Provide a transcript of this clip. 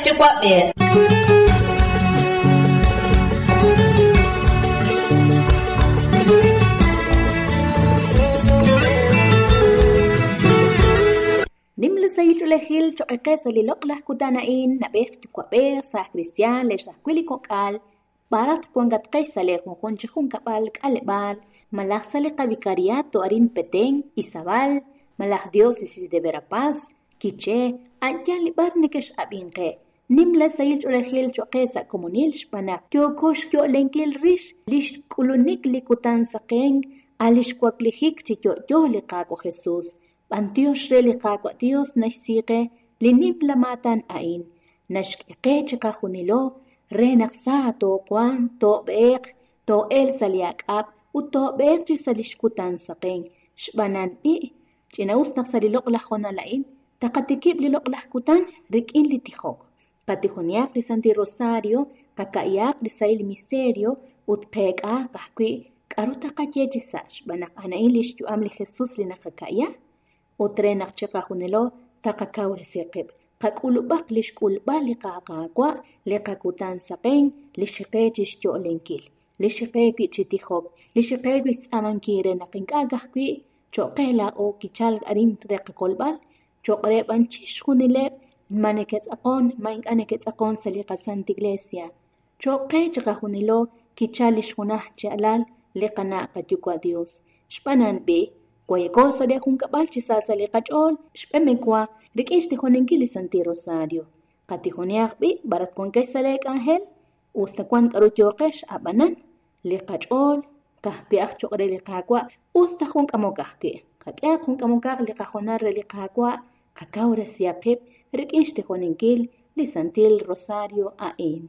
yuwa'b'ej. Nim li sahil ch'oolejil choq' qe sa' li loq'laj kutan a'in, na'b'ej yuwa'b'ej, saaj kristiaan, lex ajwi' li kok'al, b'araq wankatqex sa' lee junjun chi junkab'al, k'aleb'aal, malaj sa' li qavicariato arin Petén, Izabal, malaj Diócesis de Verapaz, Quiché, a' yaal li b'ar nekex'ab'inqe. Nim la sahil ch'oolejil choq' qe sa' komonil xb'aan naq yooko xyo'lenkil rix li xk'ulunik li kutan saqenk a' li xwaklijik chi yo'yo li Qaawa' Jesús. B'antiox re li Qaawa' Dios naxsiiqe li nimla maatan a'in, naxk'e qe chiqajunilo re naq sa toowanq, toob'eeq, too'elq sa' li ak'ab' ut toob'eeq chi sa' li xkutan saqenk. Xb'aan b'i', ch'ina'us naq sa' li loq'laj hoonal a'in, taqatikib' li loq'laj kutan rik'in li tijok. Qatijoniaq li Santil Rosario, qaka'yaq li sahil misterio ut qeek'aaq ajwi' k'a'ru taqaye chi sa' xb'aan naq a'an li xyu'am li Jesús li naqaka'ya ut re naq chiqajunilo taqakawresi qib'. Qak'ulub'aq li xk'ulb'al li Qaawa', li qakutan saqenk, li xiqe chi xyo'lenkil, li xiqe wi' chi tijok, li xiqe wi' xtz'aamankil re naq ink'a' ka'ajwi' choq' qe laa'o kichalk arin re qakolb'al, choq' re b'an chixjunileb' ma neke'tz'aqon, ma ink'a' neke'tz'aqon sa' li qaSanta Iglesia. Choq' qe chiqajunilo kichal li xjunaj chi alal li qana' qayuwa' Dios. Xb'aan b'i', wayako sa' li junkab'al chi sa sa' li qach'ool, xb'emekwa rik'in xtijoninkil li Santil Rosario. Qatijoniaq b'i' b'arat wankex sa' lee k'anjel, us ta wan k'a'ru yooqex ab'anan, li qach'ool ka'ajwi' aj choq' re li Qaawa', us ta jun k'amok ajwi'. Qak'ehaq jun k'amokaq li qajonal re li Qaawa', qakawresiaq qib' rik'in xtijoninkil li Santil Rosario a'in.